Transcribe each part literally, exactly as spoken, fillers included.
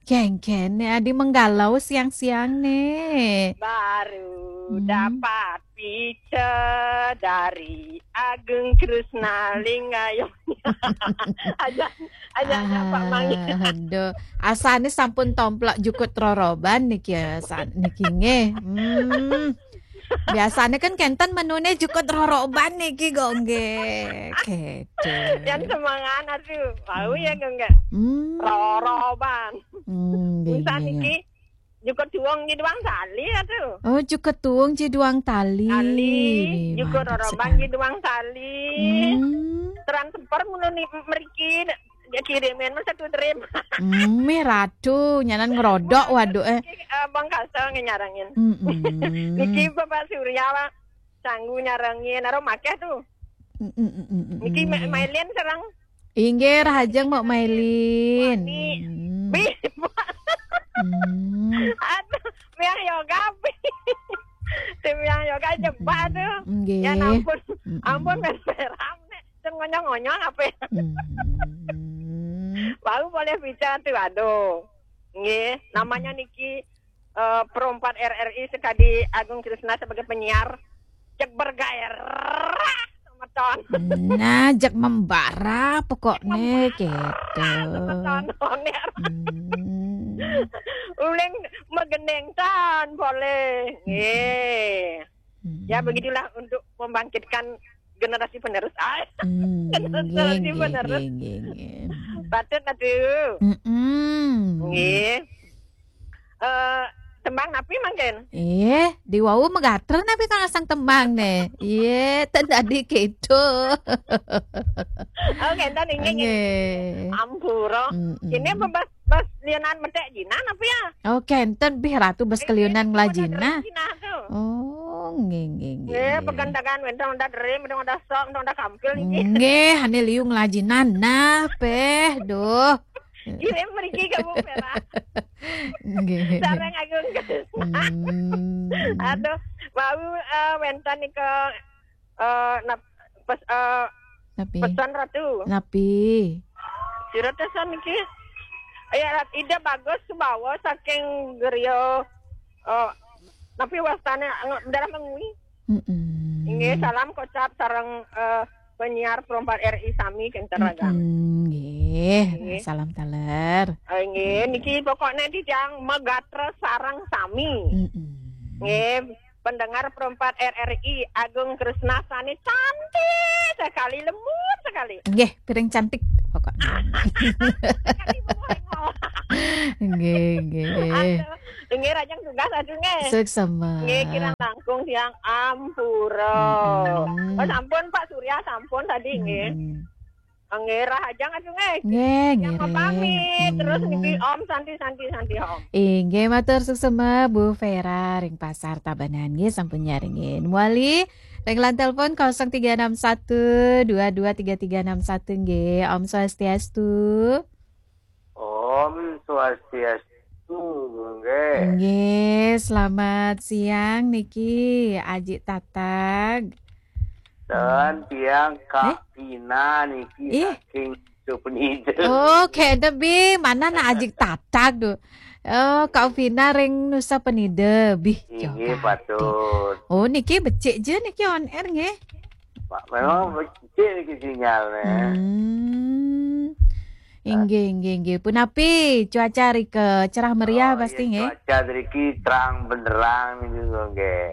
Kén-kén né adi menggalau siang-siang né. Baru Hmm. dapat pica dari Agung Krishna Lingayong. Aja aja aja Pak Mangi. Aduh, asané sampun tomplok jukut roroban niki ya, sa- niki nggih. Hmm. Biasanya kan kénten menuné jukut roroban niki kok nggih. Gitu. Yang semangat aduh. Tahu ya enggak? Hmm. Roroban. Hmm, nggih, Misal nggih. Niki jukut duwung nggih duang tali aduh. Oh, jukut duwung ji duang tali. Tali, Wih, jukut mantap roroban sekali. Nggih duang tali. Hmm. Transfer ngono ni mriki dia kirimin mas satu trim. Hmm, mih ratu nyanan ngerodok waduh eh. Niki eh, Bang Kasel ngenyarengin. Mm-mm. Niki Bapak Surya Pak Sanggu nyarengin aro makeh tuh. Mm-mm-mm-mm. Niki Ma- Mailin sareng Inggih rahajeng Mbok Mailin. Wani. Hmm. Bih. Hmm. Aduh, miang yoga bih. Tim miang yoga jebak tuh. Nggih. Ya ampun. Mm-mm. Ampun men peram nek sing ngonyong-ngonyong apa. Hmm. Baru boleh bicara tuh aduh. Nggih, namanya niki eh, Pro empat R R I sekadi Agung Krishna sebagai penyiar. Cek bergairah semeton. Nah, jak membara pokoknya gitu. Semeton on air. Hmm. Uling megeneng tan boleh. Nggih. Hmm. Ya begitulah untuk membangkitkan generasi penerus. Ah, Hmm, Terus nggih, di nggih, bener. nggih, nggih, nggih. Patut aduh. Mm-mm. Nggih. Eh, tembang napi mangkin? Eh, di wau megater napi kang asang tembang ne. Iya, ten tadi gitu. Oh, ngenten inggih nggih. Nggih. Ampura. Mm-mm. Ini bebas bas lianan metek jinan apa ya? Oh, kenten bih ratu bes keliunan ngelajina. Cina tuh. Oh, nggih, nggih, nggih. Nggih, pegandagan wentong udah deri, wentong udah sok, wentong udah kampil niki. Nggih, ane liu ngelajinan nah peh, duh. Kirim mriki ke Bu Vera. Nggih. Sareng Agung. Hmm. Aduh, mau eh, wenten nika eh nap, pes, eh, Napi? Pesan Ratu. Napi? Sira pesan niki. Ya, ide bagus bawa saking Gerio eh napi wastane nge- daerah Mengwi. Mm-mm. Inggih, salam kocap sareng eh, penyiar Pro empat R I sami kenten ragam. Mm-mm, nggih. Nggih. Salam taler. Eh, Nggih, niki pokoknya titiang megatra sareng sami. Mm-mm. Nggih, pendengar Pro empat R R I Agung Krishna sane cantik sekali, lembut sekali. Nggih, piring cantik pokoknya. Sekali bengong. Nggih, nggih. Aduh, nggih rajang tugas aduh nggih. Suksema. Nggih kirang langkung tiang ampura. Mm-mm. Oh, sampun Pak Surya sampun tadi nggih. Mm-mm. Nggih rahajeng aduh nggih. Nggih, Yang ngiring. pamit terus niki Mm. Om Santi Santi Santi Om. Inggih matur suksema Bu Vera ring Pasar Tabanan nggih sampun nyarengin. Muali ring line telepon kosong tiga enam satu dua dua tiga tiga enam satu nggih. Om Swastiastu. Om Swastiastu, nggih. Nggih, selamat siang niki Aji Tatag. Dan tiang Kak Eh? Pina niki Eh? Saking Supenida. Oh, kene bi mana nak Aji Tatag tu. Oh, Kak Vina ring Nusa Penida bih. Inggih Jogati. Patut. Oh, niki becik je niki on air nggih. Pak, memang becik niki sinyalnya. Hmm. Inggih, inggih, inggih. Punapi cuaca rika cerah meriah Oh, pasti iya, nggih. Cuaca riki terang benderang niki nggih.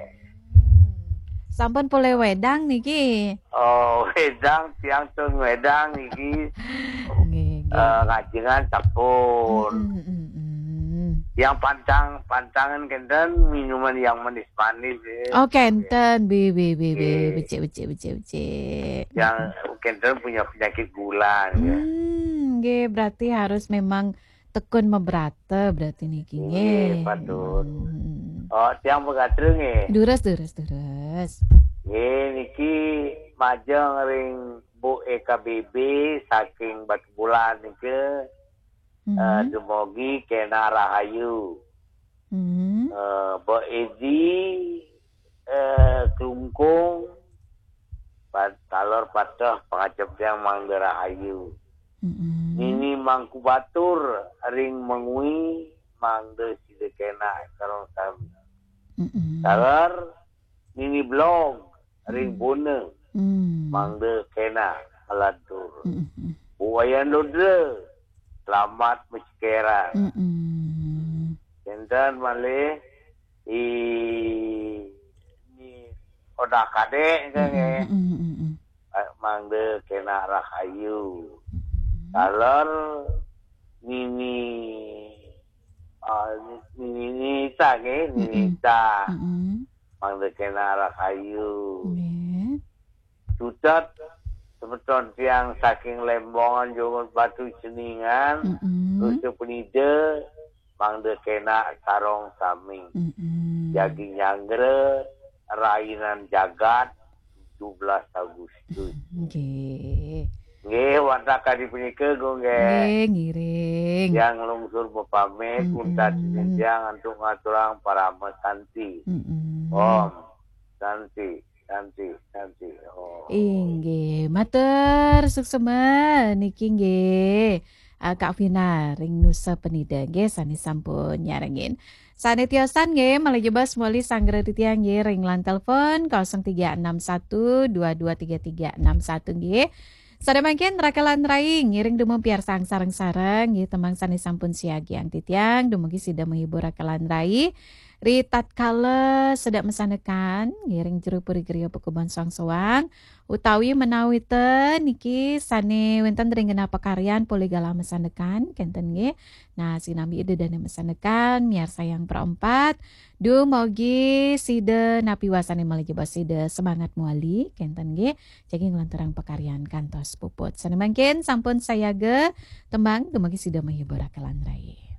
Sampun pulih wedang niki. Oh, wedang tiang tun wedang niki Nggih, nggih. eh, ngajengan sampun. Mm, mm, mm. Yang pantang pantangan kenten minuman yang manis-manis ya. Oh, kenten bi bi bi bi Nggih. becik becik becik becik. Yang kenten punya penyakit gula ya. Hmm, nggih berarti harus memang tekun mebrata berarti niki nggih. Nggih, patut. Hmm. Oh, tiang pegatreng nggih. Durus durus durus. Nggih niki majeng ring Bu E K B B saking Batu Bulan niki eh, Hmm. dumogi kena rahayu. Hmm. Eh, Bu Edi eh, Klungkung Pat, Talor Patah pangajep tiang mangga rahayu. Mm-mm. Nini Mangku Batur ring Mengwi, mangda sida kena sareng sami. Mm-mm. Taler Nini Blog ring Buna, Mm. mangda kena malantur. Mm-mm. Bu Wayan Ludra, selamat macekeran. Mm-mm. Kenten malih i ni Odah Kadek kan, eh. Mm-mm. Mm-mm. Eh, mangda kena rahayu. Taler Nini, ah, Nini Nita nggih, Nini Mm-mm. Nita. Mm-mm. Mangda kena rahayu. Nggih. Tutet semeton tiang saking Lembongan, Jumut Batu, Ceningan, Mm-mm. Nusa Penida, mangda kena sareng sami. Mm-mm. Jagi nyanggra rainan jagat tujuh belas Agustus. Nggih. Nggih, wantah kadi punika, Gung, nggih. Nggih, ngiring. Tiang lungsur mapamit, Mm-mm. untat tiang antuk ngaturang parama santi. Mm-mm. Om Santi, Santi, Santi. Om. Inggih, matur suksma niki nggih. Ah, Kak Vina ring Nusa Penida nggih sane sampun nyarengin. Sane tiosan nggih, malih jebos malih sanggra titiang nggih ring line telepon kosong tiga enam satu dua dua tiga tiga enam satu nggih. Sane mangkin rakelan rai ngiring dumun piarsang sareng-sareng nggih tembang sane sampun siagiang titiang dumugi sida menghibur rakelan rai. Ri tatkala sedek masandekan ngiring jero puri griya pakubon soang-soang utawi menawi ten niki sane wenten ring genah pakaryan polih galah masandekan kenten nggih. Nah, sinambi ida dane masandekan miarsayang perempat dumugi sida napi wasane malih jebos sida semangat muali kenten nggih. Jagi nglanturang pakaryan kantos puput. Sane mangkin sampun sayaga tembang dumugi sida menghibur rakelan rai.